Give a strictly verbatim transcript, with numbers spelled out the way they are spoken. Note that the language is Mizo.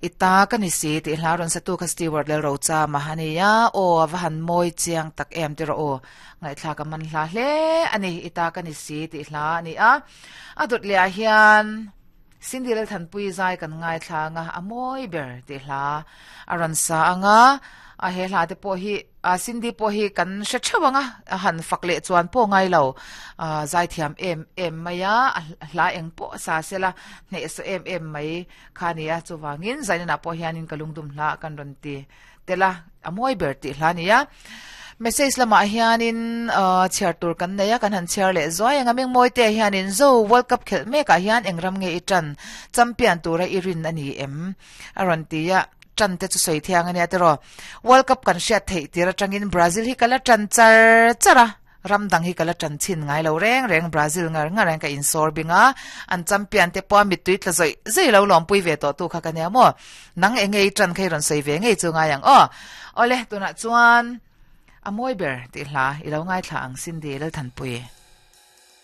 Ita ka ni si ti hla ron satu kha Stewart lel ro cha ma hania o va han moi chiang tak em ti ro o ngai thla ka man hla hle ani ita ka ni si ti hla ani a adut le hian Cindy lel than pui zai kan ngai thla nga amoi ber ti hla aran sa anga a he hla te po hi a Cindy po hi kan hre thewanga a han fak le chuan po ngai lo a zai thiam em em maya hla eng po sa sela hne so em em mai khania chuwangin zaina po hianin kalungdum hla kan ron ti tela amoi ber ti hla nia message lama hianin chhiar tur kan neia kan han chhiar leh zuai anga ming mawi te hianin zo World Cup khelh mekah hian engram nge i tan champion tura i rin ani em a rawn ti a tan te chu sawi thiang ania tiraw World Cup kan hriat theih tir atangin Brazil hi kala tan char char a ramdang hi kala tan chin ngai lo reng reng Brazil ngar ngar ang ka insor binga an champion te pawh mitui tla zoi zoi lo lawm pui ve tawh tu kha ka nia maw nang enge i tan khai rawn sawi ve ngei chu ngai ang aw awle tunah chuan amoi ber ti hla ilo ngai thla ang Cindy lal than pui.